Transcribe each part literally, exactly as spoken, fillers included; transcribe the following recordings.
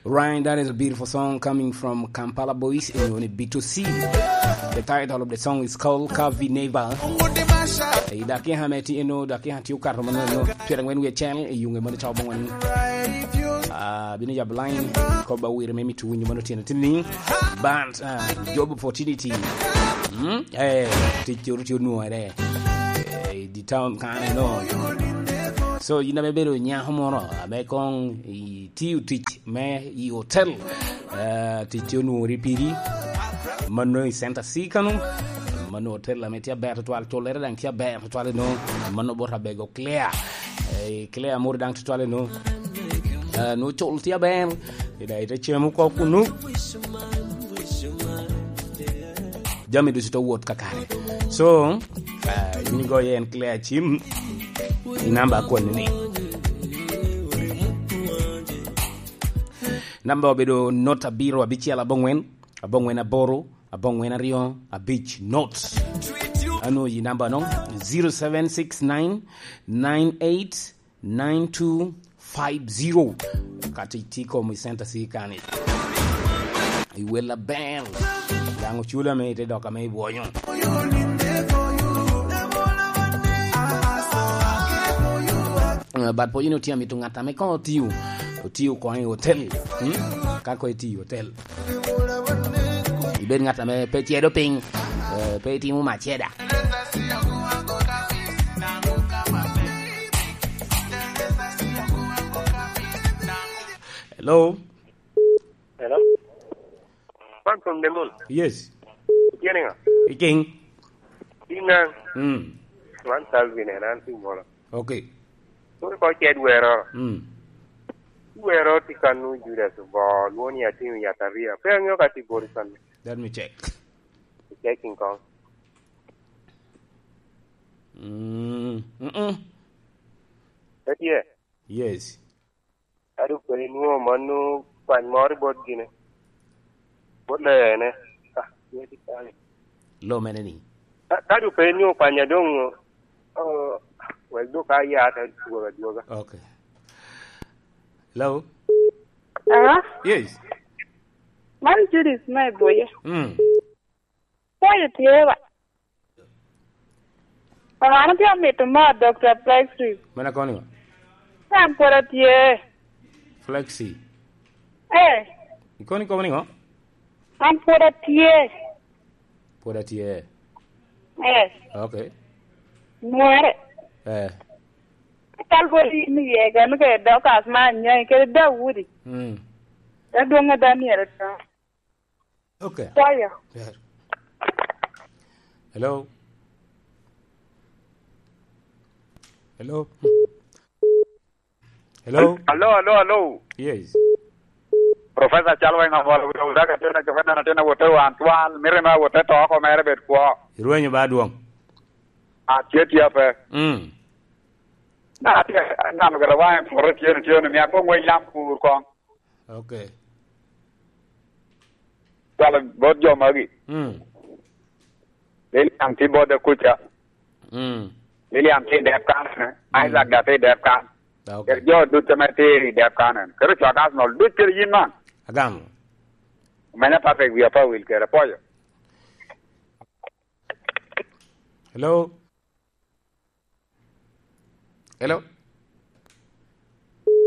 Right, that is a beautiful song coming from Kampala Boys, you know, B two C. The title of the song is called Kavi Neva. Eh, dakika me ti-, you know, dakika ti okato mano, you know, pyerangwen wie acel, eh, yunge mano cawa bongwen. Ah, bino jab line, koba wire me mito winyo mano tino tini. But, ah, job opportunity. Hmm? Eh, tic coro ti onwore. Eh, di town kan, you know. So, yin ame bedo nyako moro, ame kong i tiyo tic me i hotel, eh, tic tye onwoŋo ri pigi, mano i Center C kano, mano hotel ame tye aber tutwal, cullere daŋ tye aber tutwal eno, mano bot abego Claire, eh, Claire moro daŋ tutwal eno, eh, no cul tye aber, ida ite cem oko kunu. Jami ducu te wot kakare. So, ah, in igoyo en Claire Cim, i namba a kwani ni. Namba obedo not abiro abicel abongwen, abongwen aboro, abongwen aryo, abic not. Ano i namba no, zero seven six nine nine eight nine two five zero. Kati tye kom i Center C kani. I wel aber. Daŋ ocula me ite dok ame i bwonyo. Eh, but po yin otye amito ŋat ame koŋ otiyo, otiyo koŋ i hotel. Hmm? Ka koŋ itiyo i hotel. Ibed ŋat ame pe cedo piny, eh, pe itimo maceda. Hello? Hello? Man from the moon. Yes. Itye niŋa? Iking? Iŋa? Mm. Man Calvin en, an Tumoro. Okay. Kur ko ced wero. Mm. Wero ti kanu Judas obo, lwoni atimo yataria. Pe aŋeo ka ti bori kanu. Let me check. Checking kong. Mm. Mm-mm. Etye. Yes. Adu pe inwoŋo mano kwany moro i bot gine. Bot lee ene. Ah, tye tye kany. Lo mene ni? Ka, ka du pe inwoŋo kwanya doŋ, oh, wek dok aya te dwogo adwoga. Okay. Hello? Hello? Yes. Man Judith me Buye. Mm. Pwoyo tye wa. Wan otye amito mo Doctor Plexi. Mene kono? An pwod atye. Flexi. Eh. Ikoni komo niŋo? An pwod atye. Pwod atye. Eh. Okay. Nwere. Eh. Kal bot in iye, gano kede Dorcas me Anyai, kede Daudi. Mm. Adwoŋ a Daniel to. Okay. Kwayo. Yeah. Hello? Hello? Hello? Hello, hello, hello. Yes. Professor Chalwa Ingamola, wira wira ka tena jokena na tena wote wan twal, mire ma wote to ko mere bet kwo. Irwenyo ba dwong. A tye tye pe. Mm. Na tye, nano gara wa en pore tye, tye, mi akong wa ilam kur kong. Okay. Cwalo bot jo magi. Mm. Lilian tye bot kuca. Mm. Lilian tye i dep kan, mm. Isaac da tye i dep kan. Ah, okay. Kede jo ducu ame tye i dep kan en. Kede cwak Arsenal ducu kede yin man. Agamo. Omenya Patrick wi apa wil kede apoyo. Hello? Hello?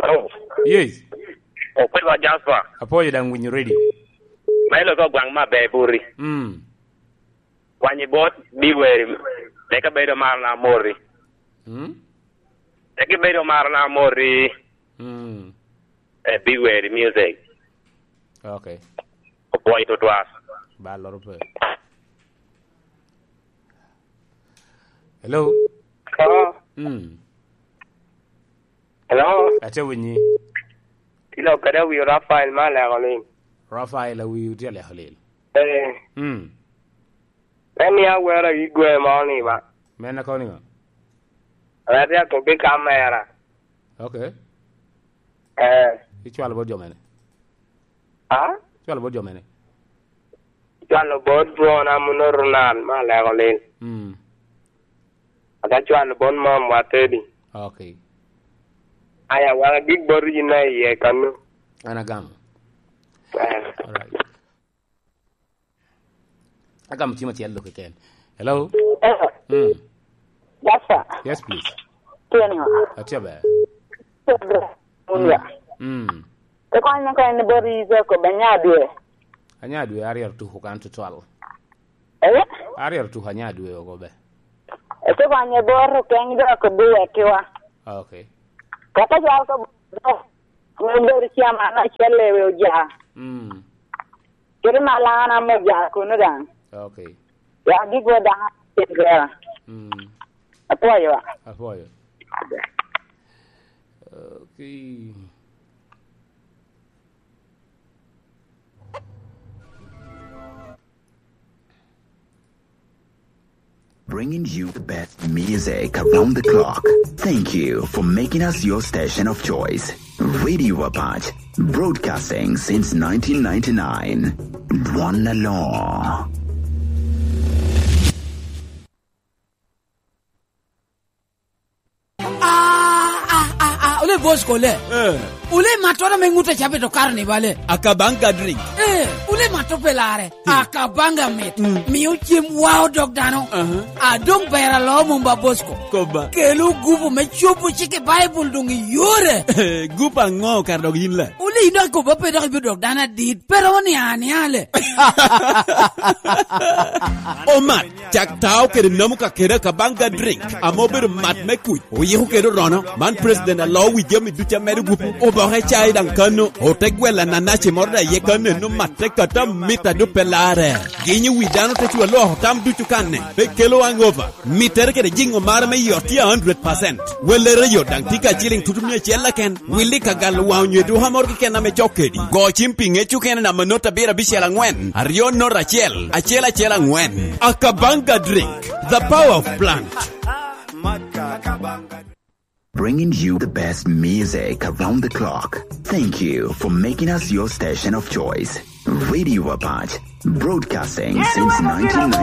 Hello? Yes. Okwelo Jasper. Apoyo daŋ winyo radio. Ma ilo ko gwaŋ ma be buri. Mm. Kwanyi bot bi weri. Leka bedo mar na mori. Mm. Leka bedo mar na mori. Mm. Eh, bi weri music. Okay. Opwoyo tutwal. Ba loro pe. Hello? Hello? Mm. Hello? Ate winyi. Ilo kede awi Rafael ma aleko lil. Rafael awi tye aleko lil. Eh. Mm. En ni awero i gwe mo ni ba. Men akobo niŋo? Ati akobo i kamera. Okay. Eh. Icwalo bot jo mene? Ah? Icwalo bot jo mene? Icwalo bot dwona Muno Ronald ma aleko lil. Mm. Ata cwalo bot mam wa Teddy. Okay. Aya, wan agik bot yin na iye kanu. An agamo. Alright. Agamo cim acel lok keken. Hello? Hello. Mm. Yes, sir. Yes, please. Tye ni ŋo? Atye ber. Tye ber. Mm. Mm. Te kony me kony ni bot Iso ko ba nya dwe. Anya dwe aryo tuko kan tutwal. Eh? Aryo tuko anya dwe oko be. Ete kony e bot okeng dok ko buwe kiwa. Ah, okay. Kata jal ko buwe. Ko bedo chairman acel lewe oja. Mm. Kede Malana mo ja kuno daŋ. Okay. Ya gik wa daŋ atin kera. Mm. Apwoyo wa. Apwoyo. Okay. Bringing you the best music around the clock. Thank you for making us your station of choice. Radio Apac, broadcasting since nineteen ninety-nine. Dwon Alor. Ah, ah, ah, ah, ole boss kole. Eh. Ole matoro me ŋute cabe to karo ni bale. Akabanga drink. Eh, ole mato pelare. Hmm. Akabanga mit. Hmm. Miyo cem wao dog dano. Aha. Adong bera lo mumba boss ko. Koba. Kelo gupu me cobo cike Bible dong i yore. Eh, gupu aŋo kar dog yin la? Ole ino akobo pe dok ibiro dok dano adit. Pero ni ani ale. Omat. Cak tao kede nomo kakede Akabanga drink, ame obedo mat me kuc, oyiko kede orono. Man president alo wi jami ducu amedo gupu, oboke cai daŋ kano, ote gwella nanaci moro daŋ iye kano eno matte kata mit a dupe larre. Ginyo wi dano te cwa lwoko tam ducu kanne, pe kelo hangover. Mittere kede jiŋo mare me yot tye a hundred percent. Wellere yo daŋ tye ka ciliŋ tutu mia acel keken. Willi ka galo waŋ onyo eduka moro keken ame cok kedi. Go cim pi ŋec okene namba not abiro abicel aŋwen, aryo not acel, acel acel aŋwen. Akabanga drink, the power of plant. Bringing you the best music around the clock. Thank you for making us your station of choice. Radio Apac, broadcasting since nineteen ninety.